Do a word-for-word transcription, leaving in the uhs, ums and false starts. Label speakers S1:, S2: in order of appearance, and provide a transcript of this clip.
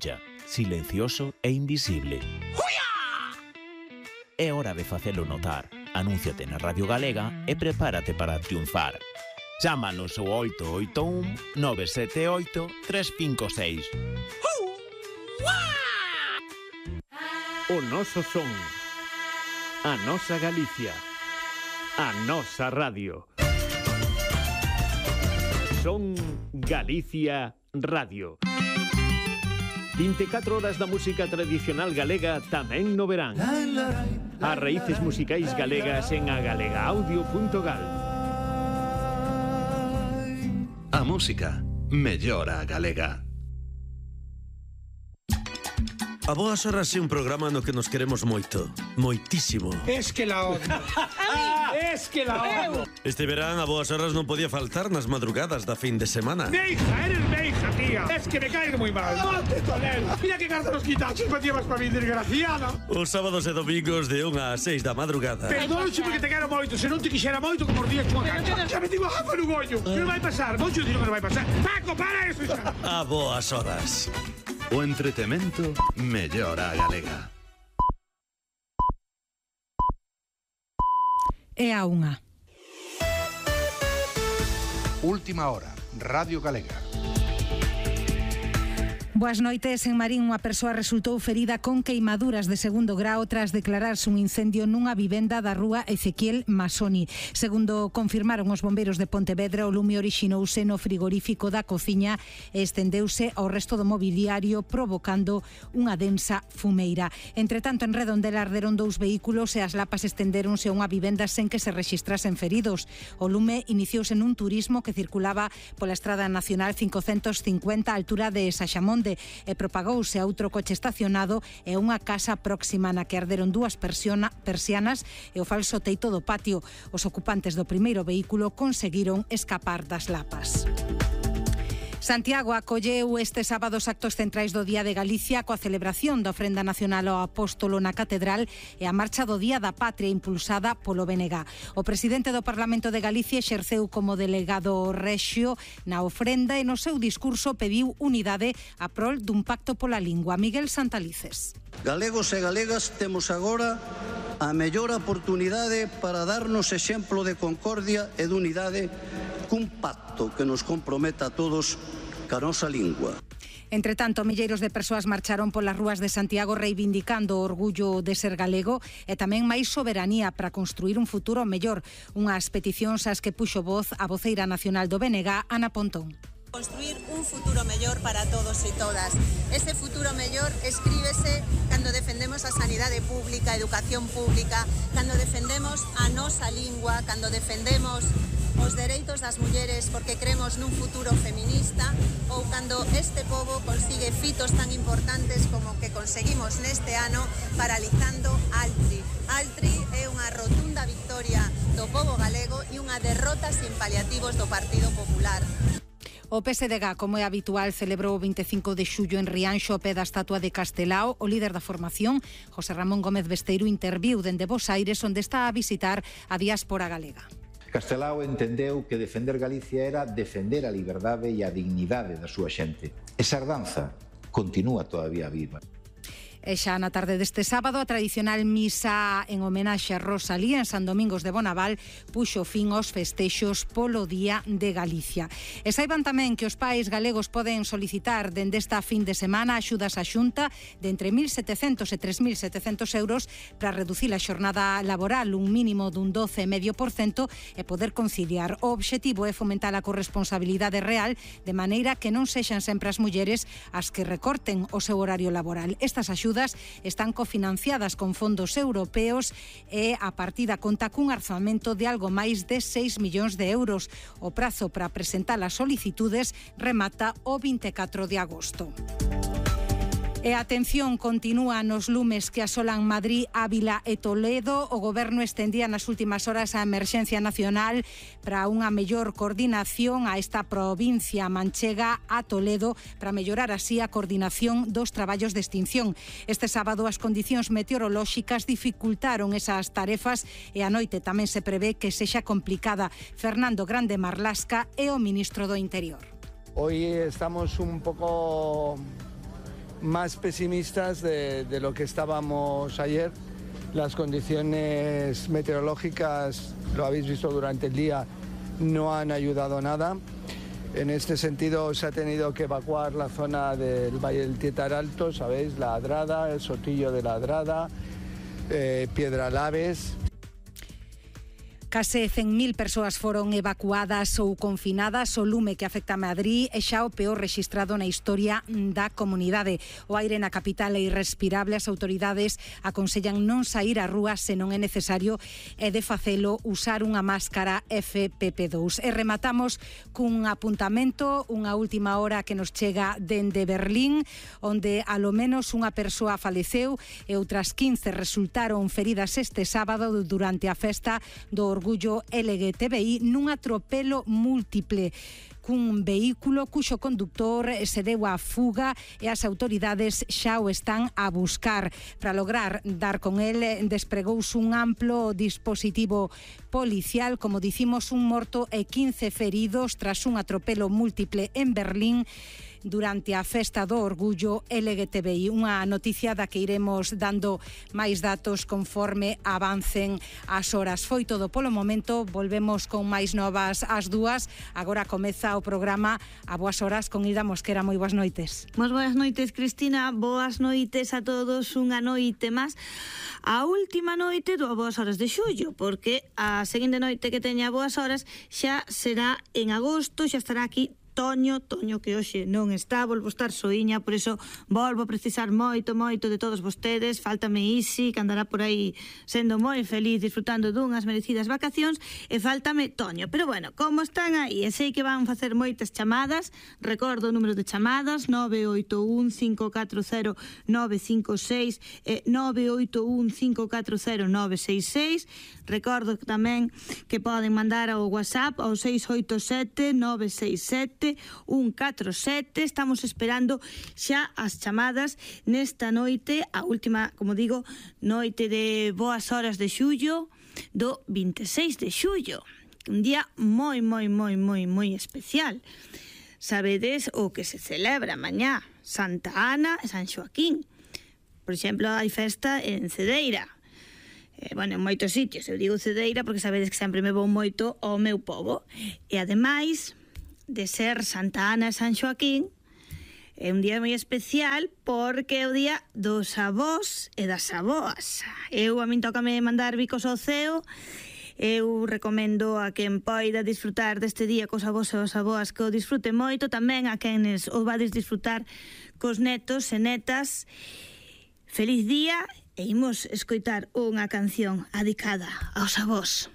S1: brilla, silencioso e invisible. É hora de facelo notar. Anúnciate na Radio Galega e prepárate para triunfar. Chámanos ao oito oito un, nove sete oito, tres cinco seis.
S2: O noso son, a nosa Galicia, a nosa radio. Son Galicia Radio. vinte e catro horas da música tradicional galega tamén no verán. As raíces musicais galegas en agalegaaudio punto gal.
S3: A música mellora a galega.
S4: A Boas Horas é un programa no que nos queremos moito, moitísimo.
S5: Es que la odio. Es que la odio.
S4: Este verán a Boas Horas non podía faltar nas madrugadas da fin de semana.
S5: Meija, eres meija, tía. Es que me caes muy mal. Monte tonel. Mira que carta los quitachos me llevas para mi desgraciada.
S4: Os sábados e domingos de unha a seis da madrugada.
S5: Perdón, porque te quero moito. Se non te quixera moito, como os días chunga cancha. Xa me digo, jafa no gollo. Que non vai pasar. Moito dixo que non vai pasar. Paco, para eso xa.
S4: A Boas Horas.
S3: O entretemento mellora a galega.
S6: É a unha.
S7: Última hora, Radio Galega.
S6: Boas noites. En Marín, unha persoa resultou ferida con queimaduras de segundo grao tras declararse un incendio nunha vivenda da rúa Ezequiel Masoni. Segundo confirmaron os bombeiros de Pontevedra, o lume orixinouse no frigorífico da cociña e estendeuse ao resto do mobiliario, provocando unha densa fumeira. Entre tanto, en Redondela arderon dous vehículos e as lapas estendéronse a unha vivenda sen que se rexistrasen feridos. O lume iniciouse nun turismo que circulaba pola Estrada Nacional cincocentos cincuenta á altura de Saxamonde e propagouse a outro coche estacionado e unha casa próxima na que arderon dúas persiana, persianas e o falso teito do patio. Os ocupantes do primeiro vehículo conseguiron escapar das lapas. Santiago acolleu este sábado os actos centrais do Día de Galicia coa celebración da ofrenda nacional ao Apóstolo na Catedral e a marcha do Día da Patria impulsada polo B N G. O presidente do Parlamento de Galicia exerceu como delegado rexio na ofrenda e no seu discurso pediu unidade a prol dun pacto pola lingua. Miguel Santalices.
S8: Galegos e galegas temos agora a mellor oportunidade para darnos exemplo de concordia e de unidade cun pacto que nos comprometa a todos ca nosa lingua.
S6: Entre tanto, milleiros de persoas marcharon polas rúas de Santiago reivindicando o orgullo de ser galego e tamén máis soberanía para construir un futuro mellor. Unhas peticións ás que puxo voz a voceira nacional do B N G, Ana Pontón.
S9: Construir un futuro mellor para todos e todas. Ese futuro mellor escríbese cando defendemos a sanidade pública, a educación pública, cando defendemos a nosa lingua, cando defendemos os dereitos das mulleres porque creemos nun futuro feminista ou cando este pobo consigue fitos tan importantes como que conseguimos neste ano paralizando Altri. Altri é unha rotunda victoria do pobo galego e unha derrota sin paliativos do Partido Popular.
S6: O P S D G, como é habitual, celebrou o vinte e cinco de xullo en Rianxo, ao pé da estatua de Castelao. O líder da formación, José Ramón Gómez Besteiro, interviu dende Bos Aires, onde está a visitar a diáspora galega.
S10: Castelao entendeu que defender Galicia era defender a liberdade e a dignidade da súa xente. Esa herdanza continúa todavía viva.
S6: E xa na tarde deste sábado, a tradicional misa en homenaxe a Rosalía en San Domingos de Bonaval puxo fin aos festexos polo Día de Galicia. E saiban tamén que os pais galegos poden solicitar dende esta fin de semana axudas á Xunta de entre mil setecentos e tres mil setecentos euros para reducir a xornada laboral un mínimo dun doce coma cinco por cento e poder conciliar. O obxectivo é fomentar a corresponsabilidade real de maneira que non sexan sempre as mulleres as que recorten o seu horario laboral. Estas axudas están cofinanciadas con fondos europeos e a partida conta cun orzamento de algo máis de seis millóns de euros. O prazo para presentar as solicitudes remata o vinte e catro de agosto. E a atención continúa nos lumes que asolan Madrid, Ávila e Toledo. O Goberno estendía nas últimas horas a emerxencia nacional para unha mellor coordinación a esta provincia manchega, a Toledo, para mellorar así a coordinación dos traballos de extinción. Este sábado as condicións meteorolóxicas dificultaron esas tarefas e a noite tamén se prevé que sexa complicada. Fernando Grande Marlasca é o ministro do Interior.
S11: Hoy estamos un pouco más pesimistas de, de lo que estábamos ayer. Las condiciones meteorológicas, lo habéis visto durante el día, no han ayudado nada. En este sentido se ha tenido que evacuar la zona del Valle del Tietar Alto, ¿sabéis? La Adrada, el Sotillo de la Adrada, eh, Piedralaves.
S6: Case cen mil persoas foron evacuadas ou confinadas. O lume que afecta a Madrid é xa o peor rexistrado na historia da comunidade. O aire na capital é irrespirable. As autoridades aconsellan non sair á rúa se non é necesario e de facelo usar unha máscara F P P dous. E rematamos cun apuntamento, unha última hora que nos chega dende Berlín, onde alo menos unha persoa faleceu e outras quince resultaron feridas este sábado durante a festa do Orgullo L G T B I nun atropelo múltiple cun vehículo cuxo conductor se deu á fuga e as autoridades xa o están a buscar. Para lograr dar con el despregouse un amplo dispositivo policial, como dicimos, un morto e quince feridos tras un atropelo múltiple en Berlín durante a festa do Orgullo L G T B I. Unha noticia da que iremos dando máis datos conforme avancen as horas. Foi todo polo momento, volvemos con máis novas ás dúas. Agora comeza o programa A Boas Horas con Hilda Mosquera. Moi boas noites.
S12: Moi boas noites, Cristina. Boas noites a todos, unha noite máis. A última noite do A Boas Horas de xullo, porque a seguinte noite que teña Boas Horas xa será en agosto, xa estará aquí Toño, Toño que hoxe non está, volvo estar soiña, por iso volvo a precisar moito, moito de todos vostedes. Fáltame Isi, que andará por aí sendo moi feliz, disfrutando dunhas merecidas vacacións, e fáltame Toño. Pero bueno, como están aí, e sei que van facer moitas chamadas, recordo o número de chamadas, nove oito un cinco catro cero nove cinco seis e nove oito un cinco catro cero nove seis seis. Recordo tamén que poden mandar ao WhatsApp ao seis oito sete nove seis sete un catro sete. Estamos esperando xa as chamadas nesta noite, a última, como digo, noite de Boas Horas de xullo do vinte e seis de xullo. Un día moi, moi, moi, moi, moi especial. Sabedes o que se celebra mañá, Santa Ana e San Xoaquín. Por exemplo, hai festa en Cedeira. Eh, bueno, en moitos sitios. Eu digo Cedeira porque sabedes que sempre me vou moito ao meu pobo. E ademais de ser Santa Ana e San Xoaquín, é un día moi especial porque é o día dos avós e das avoas. Eu, a min tócame mandar bicos ao ceo. Eu recomendo a quen poida disfrutar deste día cos avós e as avoas que o disfrute moito, tamén a quenes o vades disfrutar cos netos e netas. Feliz día. E imos escoitar unha canción adicada aos avós.